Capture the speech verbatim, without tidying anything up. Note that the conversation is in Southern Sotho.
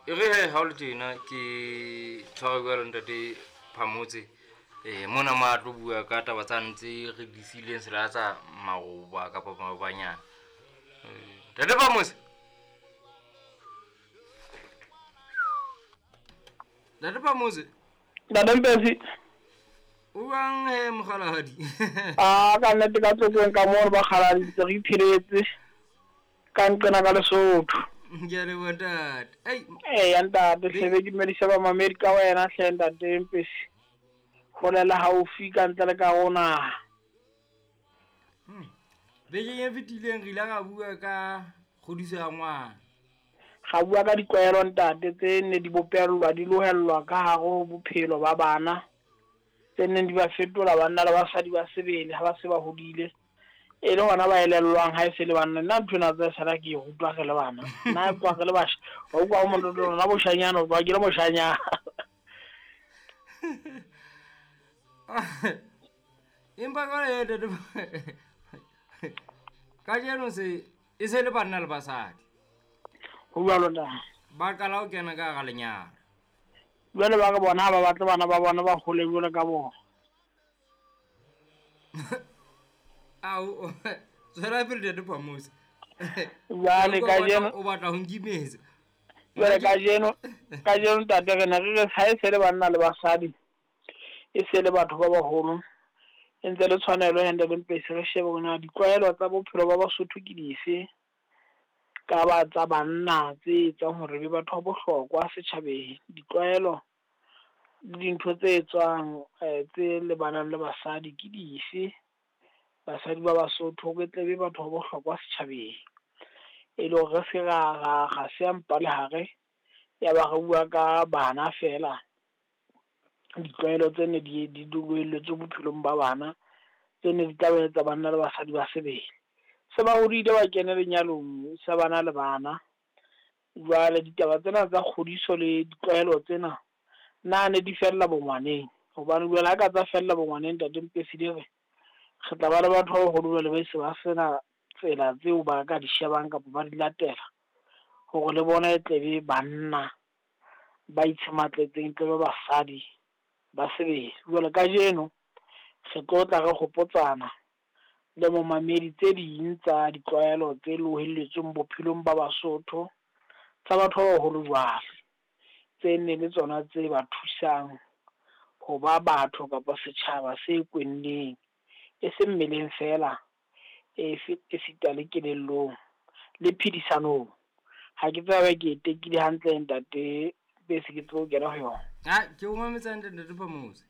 E re he ha o le tjena ke tshwara jwalo ntate Phamotse. Eh mona ma tlo bua ka taba tsane tse re di sileng sela tsa maroba kapa marobanyana. Eh, Ntate Phamotse. Ntate Phamotse. Ntate Mpesi. O bang he mokgalahadi? A ka nnete ka tlotlong ka moo re bakgaladi ntse re ipheletse ka nqena ka Lesotho. Ke a leboha ntate. Ei. Eya ntate, hle be ke dumedisa bamamedi ka wena hle ntate Mpesi. Hole le haufi ka ntle le ka ho naha. Hmm. Bekeng e fetileng re ile ra bua ka kgodiso ya ngwana. Ra bua ka ditlwaelo ntate tse ne di bopellwa di lohellwa ka hare ho bophelo ba bana, tse neng di ba fetola banna le basadi ba sebele ha ba se ba hodile, e le hona ba elellwang ha e se le banna. Nna ntho ena tsa sala ke e rutwa re le bana, nna tloha re le basha, wa utlwa ho motho nna boshanyana, o tloha ke le moshanyana. Empa jwale ntate, kajeno se e se le banna le basadi. Ho jwalo ntate. Ba qala ho kena ka hara lenyalo. Jwale ba re bona ha ba batle bana ba bona ba hole jwalo ka bona. Ao, tswela pele ntate Phamotse. Jwale kajeno o batla ho nkimetsa. Jwale kajeno, kajeno ntate re ne re re ha e se le banna le basadi, e se le batho ba baholo, e ntse le tshwanelo ya ntate Mpesi re shebe hore na ditlwaelo tsa bophelo ba Basotho ke dife, ka ba tsa banna tse etsang hore be batho ba bohlokwa setjhabeng, ditlwaelo le dintho tse etswang eh, tse lebanang le basadi ke dife, basadi ba Basotho re tle be batho ba bohlokwa setjhabeng, e le hore re se ra ra ra siya mpa lehare ya ba re bua ka bana fela. Ditlwaelo tse ne di di loelletswe bophelong ba bana, tse ne di tla ba etsa banna le basadi ba sebele. Se ba hodile ba kene lenyalong, se bana le bana. Jwale ditaba tsena tsa kgodiso le ditlwaelo tsena na ne di fella bongwaneng, hobane jwale ha ka tsa fella bongwaneng ntate Mpesi di re re tla ba le batho ba baholo jwale ba se ba sena tsela tseo ba ka di shebang kapa ba di latela hore le bona e tle be banna ba itshematletseng, tle be basadi ba sebele. Jwale kajeno re tlo tla re hopotsana le momamedi tse ding tsa ditlwaelo tse lohelletsweng bophelong ba Basotho tsa batho ba baholo jwale, tse nne le tsona tse ba thusang ho ba batho kapa setjhaba se kwenneng, e se mmeleng fela, e esita le kelellong le phedisanong. Ha ke tsebe ke e tekile hantle ntate Mpesi, ke tsebe ho kena ho yona. Ha ke o mametse hantle ntate Phamotse.